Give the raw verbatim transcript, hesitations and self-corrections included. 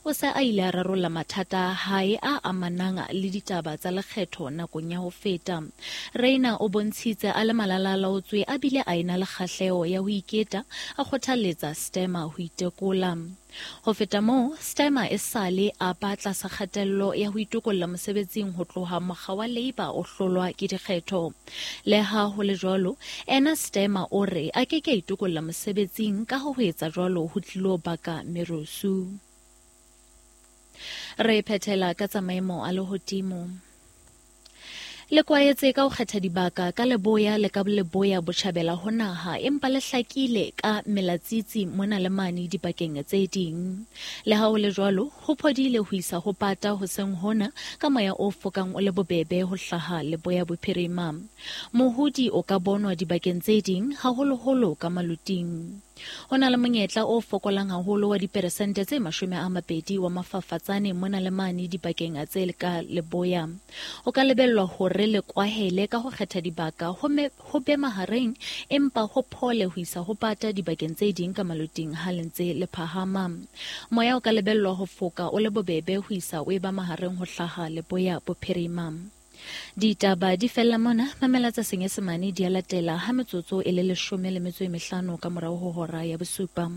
o se a ile a rarolla mathata a hae a amanang le ditaba tsa lekgetho nakong ya ho feta. Rayner o bontshitse a le malalalaotswe a bile a ena le kgahleho ya ho iketa, a kgothalletsa Starmer ho itekola. Ho feta moo, Starmer esale a ba tlasa kgatello ya ho itokolla mosebetsing ho tloha mokga wa Labour o hlolwa ke dikgetho. Leha ho le jwalo, ena Starmer o re a ke ke a itokolla mosebetsing ka ho etsa jwalo ho tlilo baka merusu. Re phethela ka tsa maemo a lehodimo. Le kwaetse ka ho kgetha dibaka ka leboya le ka leboya botjhabela ho naha, empa le hlakile ka melatsitsi mona le mane dibakeng tse ding. Le ha ho le jwalo, ho phodile ho isa ho pata hoseng hona ka moya o fokang o le bobebe ho hlaha leboya bophirima. Mohodi o ka bonwa dibakeng tse ding, haholoholo ka maluting. Ho na le monyetla o fokolang haholo wa diperesente tse mashome a mabedi wa mafafatsane mona le mane dibakeng tse ka leboya. Ho ka lebellwa hore le kwahele ka ho kgetha dibaka ho me, ho be mahareng, empa ho phole ho isa ho pata dibakeng tse ding ka maluting ha le ntse le phahama. Moya o ka lebellwa ho foka o le bobebe ho isa o eba mahareng ho hlaha leboya bophirima. Ditaba di fella mona, mamela tsa Senyesemane di a latela ha metsotso e le leshome le metso e mehlano ka morao ho hora ya bosupa.